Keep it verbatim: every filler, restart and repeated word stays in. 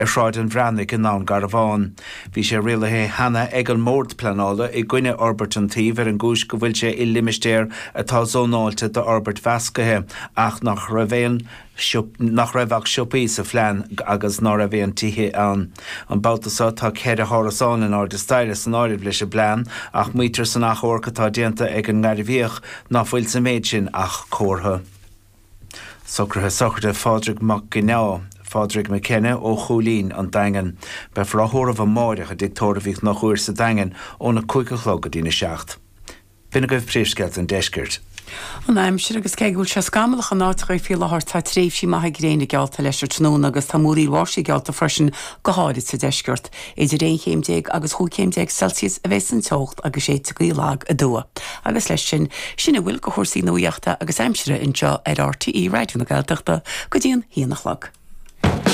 ar Shráid an Bhreathnaigh i nDún Garbhán. Bhí sé rialaithe cheana ag an mBord Pleanála i gcoinne fhorbairt an tsuímh ar an gcúis go bhfuil sé i limistéar atá zónáilte d'fhorbairt mheascaithe ach nach raibh aon nach raibh ach siopaí sa phlean agus ná raibh aon tithe ann. An babhta seo tá ceithre hárasán in airde staighre san áireamh leis an bplean ach maítear san achomharc atá déanta ag an nGairbhíoch ná fuil sa méid sin ach comhartha. Socruithe sochraide Phádraig Mac Ginneá, Phádraig McKenna ó Chúilín an Daingean. Beifear á thórramh amárach i dTigh Tórraimh Uí Chonchúir sa Daingean óna cúig a chlog go dtína seacht. B'in agaibh príomhscéalta an deiscirt. An aimsir agus cé go bhfuil sé scamallach in áiteacha faoi láthair tá tréimhsí maithe gréine geallta leis an tráthnóna agus tá múraíl bháistí geallta freisin go háirid sa deisceart. Idir aon chéim déag agus chúig chéim déag Celsius a bheas an teocht agus séidfidh gaoth lag aduaidh. Agus leis sin, sin a bhfuil de chúrsaí nuachta agus aimsire anseo ar RTÉ Raidió na Gaeltachta go dtí an haon a chlog.